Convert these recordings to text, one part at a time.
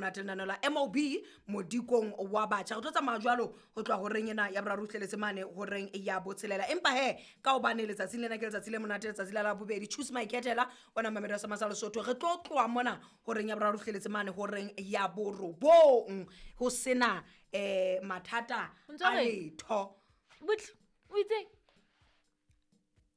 Monate lenaneo la mob modikong wa batjha re tlo tsamaya jwalo ho tloha horeng ena ya boraro fihleletse mane horeng ya botshelela empa he ka hobane letsatsing lena ke letsatsi le monate letsatsi la labobedi choose my ketela ona mamedi wa samasa lesotho re tlo tloha mona horeng ya boraro fihleletse mane horeng ya borobong ho sena um mathata O ntso a reng? letho Butle, o itseng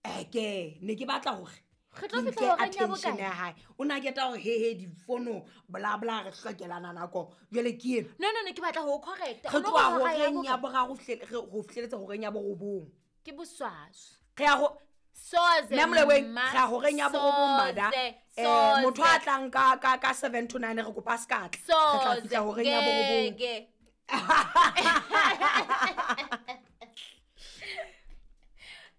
eke ne ke batla gore Re tlo ke fihla nke horeng ya attention bokae? ya hae o ne a keta gore hehe difono blabla re hlokelana nako jale ke eno no no no ke batla ho o correcta re O no tloha re hora ya horeng ya bokae? boraro ho fihleletse horeng ya borobong ke boswaswi re ya go soze mme moleweng mma, re ya horeng ya borobong bada soze, um motho a soze, tlang ka 7 to 9 re kopa se ka tla re tla soze, fihla horeng ya borobong ngeke.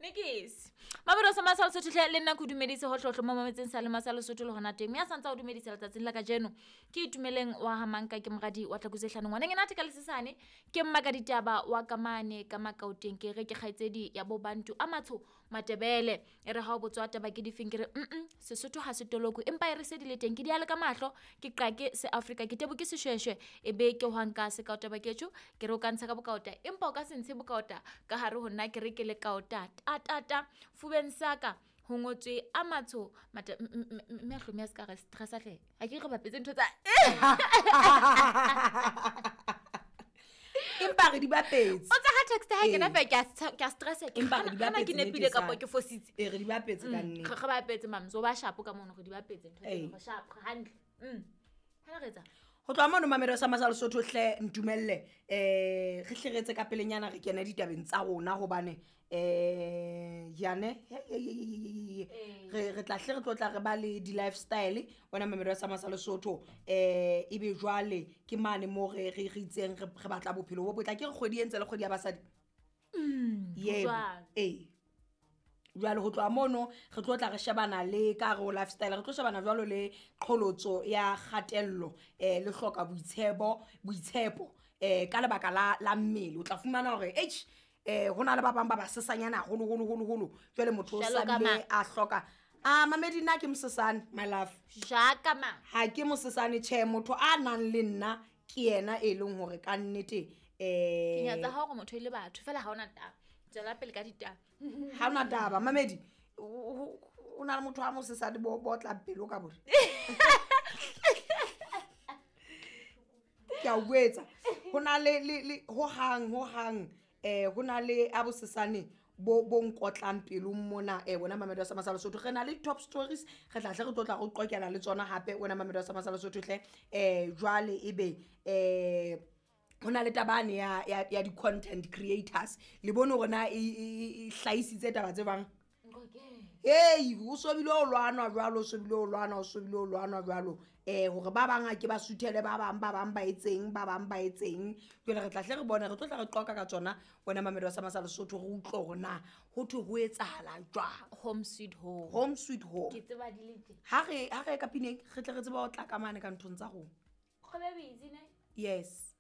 Nikis. Mabelo sa masa Lesotho hle le nna ke o dumedise hohlohlo mo mametseng sa le masa Lesotho le hona teng. Mme a santse a o dumedisa letsatsing la kajeno. Ke Itumeleng wa ha Manka ke moradi wa Tlakuse hlano ngwaneng ena ka lesesane ke mma ka ditaba wa kamane ka makaoteng ke re ke kgaitsedi ya bo Bantu a matsho Matebele. E re ha o botswa taba ke difeng ke re Sesotho ha se toloko empa e re se di le teng ke di ale ka mahlo ke qake se Afrika ke tebo ke seshweshwe e be ke hwanka se kaota baketjo ke re o ka ntsha ka bokaota empa o ka se ntshe bokaota ka hare ho nna ke re ke le kaota ta ta ta fubeng sa ka ho ngotswe a matsho mate mme a hlomi a se ka re stressa hle ha ke re bapetse ntho tsa empa re di bapetse o tsa ha text ha kena Ee. fe ke a ke a stressa ke Empa re di hana ke bapetse nepile nnete kapa sa. ke fositse ee re di bapetse ka nnete re bapetse mams o ba shapo ka mono re di bapetse ntho Ee. tseno, re shapo hantle hana re etsang go tloha mono mamedi sa masa lesotho hle ntumelle um re hle re etse ka pelenyana re kene ditabeng tsa rona gobane um yane Ee. re tla hle re tlo tla re ba le di-lifestyle wena mamedi wa sa masa lesotho um ebe jwale ke mane mo re re re itseng re re batla bophelo bo botla ke re kgwedi e ntse le kgwedi ya basadi yebo jwalo. ee jwale ho tloha mono re tlo tla re shebana le ka re ho lifestyle re tlo shebana jwalo le qholotso ya kgatello um le hloka boitshepo boitshepo um ka lebaka la la mmele o tla fumana hore h um ho na le ba bang ba basesanyana haholoholoholoholo jwale motho o Jwalo ka sabile mang? a hloka a mamedi nna ke mosesane my love jaka mang ha ke mosesane tjhe motho a nang le nna ke yena e leng hore ka nnete ke um nyatsa ha hore motho e le batho fela ha ona taba tswela pele ka ditaba ha ona taba mamedi o na le motho a mosesane bo bo tlang pelo ka bore ke a o buetsa ho na le le le hohang hohang ho na le a bosesane bo bo nkotlang pelong mona wena mamedi wa Samasa Lesotho re na le top stories re tla hle re tlo tla re qoqela le tsona hape wena mamedi wa Samasa Lesotho hle jwale ebe ho na le tabane ya ya ya di-content creators le bone hore na e hlahisitse taba tse bang hei o sobile o lwanwa jwalo o sobile o lwanwa o sobile o lwanwa jwalo um hore ba bang a ke ba suthele ba bang ba bang ba etseng ba bang ba etseng jwale re tla hle re bone re tlo tla re qoqa ka tsona wena mamedi wa Samasa Lesotho re utlwe hore na ho thwe ho etsahala jwang home sweet home home sweet home ke tseba di le teng ha re ha re ye ka pineng re tle re tsebe ho tla ka mane ka nthong tsa rona kgobe busy ne yes.